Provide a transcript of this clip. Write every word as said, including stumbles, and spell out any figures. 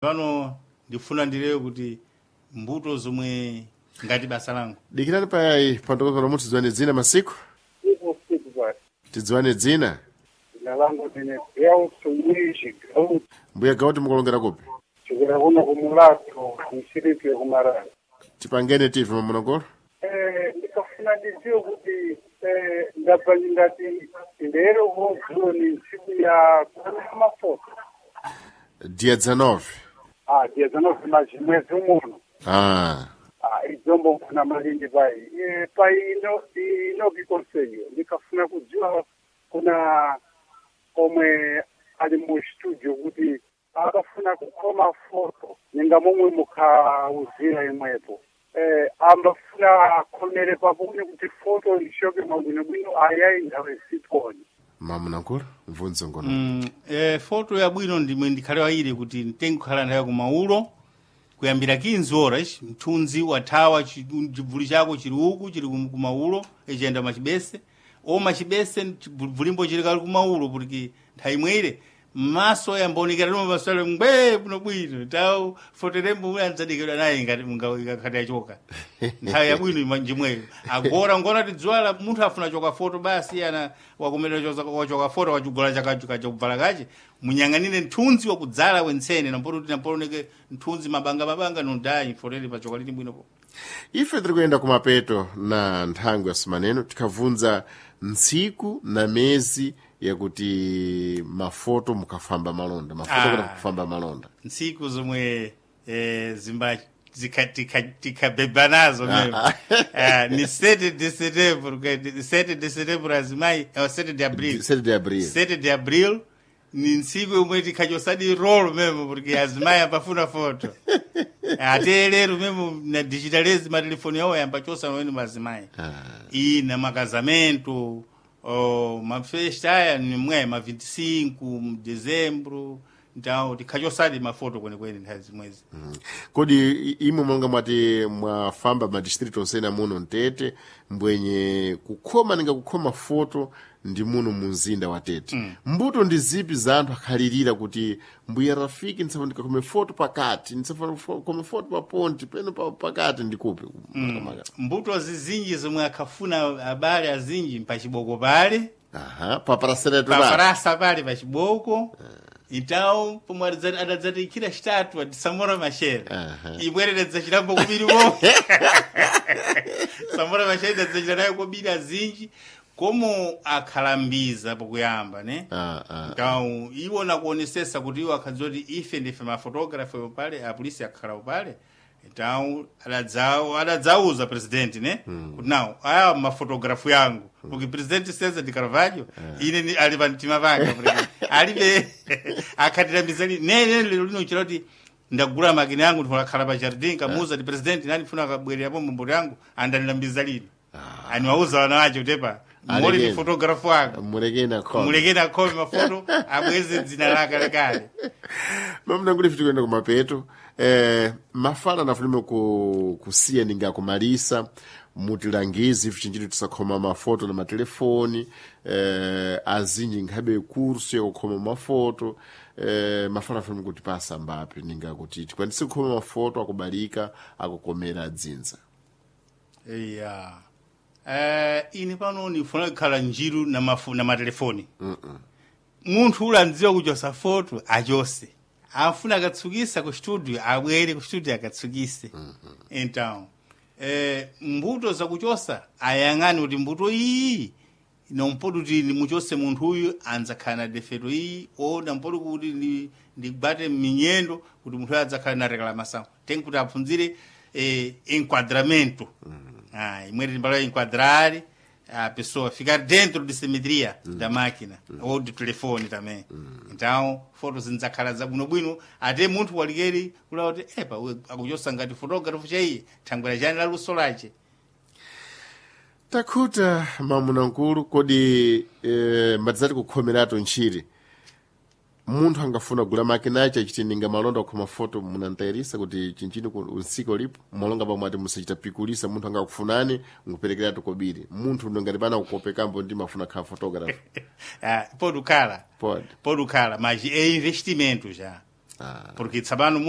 Pano ndifuna ndilewe kuti mbuto zomwe ngati basa langu. Dikirani payayi pantokoza muti tidziwane dzina masiku Siku siku basi. tidziwane dzina Dzina langu ndine Gelson Luigi Gauti mbuya Gauti mukulongera kupi chokera kuno kumulato mshiriki yekumarara. tipangene tivi mamunangolo Eh, ndikafuna ndidziwe kuti eh, ndabva ndingati ndero vodziwo ni ntsiku ya kuoneka mafoto. dia dezenove Ah, dia dezenove mas mwezi umuno. ah Ah, idzombo mfuna malindi pai. Eh, pai ino inoki conselho ndikafuna kudziwa kuna omwe ali mu studio kuti akafuna kukhoma foto ninga momwe mukhauzira imwepo eh, ambafuna akhomere paponi kuti foto ishoke mwabwinobwino ayayi nthawe sitoni mamunangolo mvunzo ngono Mm, eh, foto yabwino ndimwe ndikhale waire kuti nditenge kukhala nthawi kumaulo kuyambira quinze horas mthunzi wathawa chi- chibvuli chako chili uku chili kum- kumaulo ichiyenda machibese o machibese chibvulimbo chili kali kumaulo kuti nthawi imwe maso yambaonekera lomwe maso ale ngwee bwino bwino tawu foterembo uye andzadikidwa naye ngati ngakhati achoka nthawi yabwino ima- njimweyo agora ngona tidziwala munthu afuna choka foto basi ana wakumene wachoka foto wachugola chakachakubvala kache munyang'anire mthunzi wakudzala wentsene nampoti kuti nampolioneke mthunzi mabanga mabanga nondayi fotere pachoka lili bwinopo ife tiri kuyenda kumapeto na nthango ya sumaneno tikhavunza ntsiku na mezi yakuti mafoto mukhafamba malonda mafoto Ah. kuti kufamba malonda ntsiku zomwe eh, zimba zikha- tikha- tikhabeba nazo memo Ah, ni sete de setembro que- sete de setembro azimayi eh, sete de abril sete de abril sete de abril ni ntsiku yomwe tikhachosadi rolo memo porque azimayi ambafuna foto ate lero memo na digitalize matelefoni yawo yambachosa weni mazimayi iyi na makazamento oh, mafesta aya ni mwe ma vinte e cinco mu dezembro, então tikhachosadi mafoto kwenekwene nthawi zimwezi. Kodi i- imwe monga mwati mwafamba madistritu onsena muno mtete mbwenye kukhoma ninga kukhoma foto ndi muno mu mzinda wa Tete mm. Mbuto ndi zipi za anthu akhalirira kuti mbuya Rafiki ndisafuna ndikakhome foto pakati ndisafuna kukhome foto pa ponti peno pa, pakati ndikupi mm. Mbuto zizinji zomwe akhafuna abale azinji mpachiboko pale Aha, paparaseretu pale pafarasa pale pachiboko. Então pomwe adadza- adadzatiikira xitatu ati Samora Machel Aha. ibwere idadzachitambo kubiri mo Samora Machel idadzachita nayo kobiri azinji komo akhalambiza pokuyamba ne. Ah, ah. Então iwo nakuonesesa kuti iwo akhadziwa kuti ife ndife mafotografa pale apolisi akhala pale, então adadza- adadzauza president ne kuti nawo aya mafotografu yangu porque president César de Carvalho ine ni- ali pamtima panga porque alibe akhatirambizani nene lero lino chira kuti ndagula makina yangu ndikhala pa jardim kamuuza ti president nani funa akabwererapo mbomboto yangu andandilambiza lino aniwauza wana wacho tepa moli ni Alekeni. fotografu wanga mulekeni akhome mulekeni akhome mafoto abweze dzina lake kalekale. Mamunanguli fiti kuyenda kumapeto eh, mafala nafunime ku, kusiya ninga kumalisa mutilangizi ife chinjiri tisakhoma mafoto na matelefoni eh, azinji nkhabe kursu yakukhoma mafoto eh, mafala afunime kuti pasa mbapi ninga kuti tikwanise kukhoma mafoto akubalika akukomera adzinza. Iya eh, ine pano ndifuna kukhala njiru na, mafu, na matelefoni. Munthu ula andziwa kuchosa foto achose afuna akatsukisa ku studio abwere ku studio akatsukise. Então eh, mbuto zakuchosa ayang'ane kuti mbuto iyi nompoti kuti ndimuchose munthu uyu andzakhala na defeto iyi o nampoti kuti ndi- ndigwate minyendo kuti munthu uyu adzakhala na reclamação tem kuti apfunzire eh, enquadramento. Ah, imwe timbalo enquadrar a pessoa ficar dentro de simetria da máquina ou do telefone também. Então foto zindzakhala zabwinobwino ate munthu walikeri kula kuti epa uyu akuchosa ngati photographer chaiye thangwera chani la luso lache. Takhuta mamunankulu kodi eh, madzati kukhomeratu ntchire munthu angafuna kugula makina ache achiti ninga malonda kukhoma foto munantayirisa kuti chinchini ku- usiku ulipo malonga pamwe ati musachita pikulisa munthu angakufunani nkuperekeratu kobiri munthu ngati pana kukopekambo ndi mafuna khala photographer. Ah, pode khala Pode. Pode khala mas é investimento já. Ah. Porque tsapano munthu